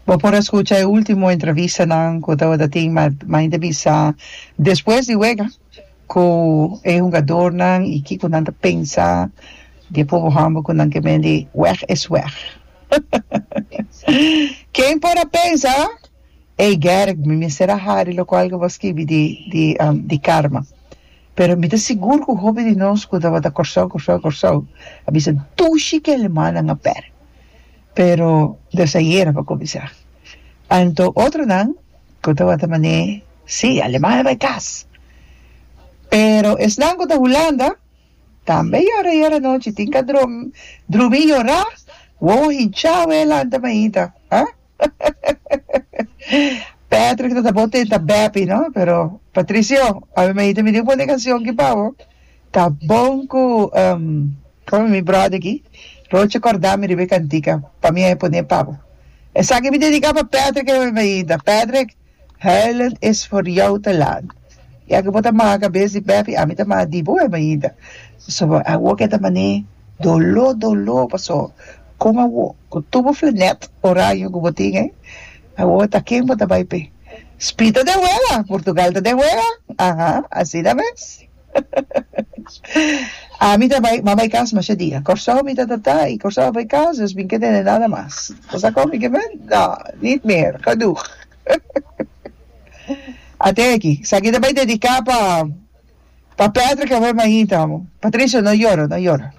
Bo por a skucha e último entrevistanan ku tabata tin ma mi ta bisa despues di wega ku e hungadornan i kiko nan ta pensa di e pobo hòmber ku nan ke men di wèg es wèg. Ken por a pensa? Ey Gerrit mi mester a hari lokual ku bo a skibi di di di karma. Pero mi ta sigur ku hopi di nos ku tabata Kòrsou Kòrsou Kòrsou a bisa dushi ku e alemannan a pèrdè. Pero des ayera pa kuminsá. Anto otronan ku tabata man'é, sí, aleman a bai kas. Pero esnan ku ta Hulanda tambe yora yora anochi, tin ka drumi yorá, wowo hinchá wei lanta mainta, ha? Patrick ta ta bo tenta Beppie, no? Pero Patricio, awe mainta mi tin pone canción ki pa bo. Ta bon ku Komo mi brother aki, Roche korda mi riba e kantika pa mi a e pone pa bo. Esaki mi dediká pa Patrick e mainta. Patrick, huilen is voor jou te laat. Ya ku bo ta maha kabes di Pepi, ami ta maha di bo e mainta. Pasobra awor ke ta man'é doló doló paso kon awor ku tur bo flenet oraño ku bo tin ei, awor ta ken bo ta bai p'e? Spi ta den wega, Portugal ta den wega, aha, asina mes. Ami ta bai, m'a bai kas masha dia. Kòrsou mi ta ta i Kòrsou a bai kas, dus mi ke tene nada mas. Bo sa kon mi ke men? No, niet meer, genoeg. Ate aki, esaki ta bai dediká pa pa Patrick awe mainta amo. Patricio, no yora, no yora.